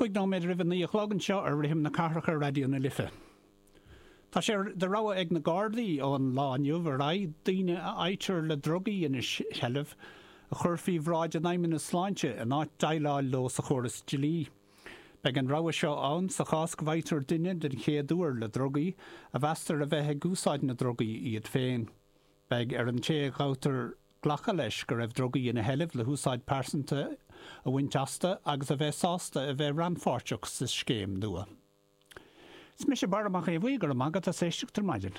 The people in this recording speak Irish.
5 nóiméad roimh a 9 a chlog anseo ar Rithim na Cathrach ar Raidió na Life. Tá sé de rogha ag na Gardaí ón lá inniu ar aghaidh daoine a fhaightear le drugaí ina seilbh a chur faoi bhráid an Fheidhmeannas Sláinte in áit déileáil leo sa chóras dlí. Beidh an rogha seo ann sa chás go bhfaightear duine den chéad uair le drugaí, a mheastar a bheith ag úsáid na ndrugaí iad féin. Beidh ar an té a ghabhtar glacadh leis go raibh drugaí ina sheilbh le húsáid pearsanta a bhaint astu agus a bheith sásta a bheith rannpháirteach sa scéim nua. Is mise Barra Mac Aodha Bhuí, go raibh maith agat as éisteacht ar maidin.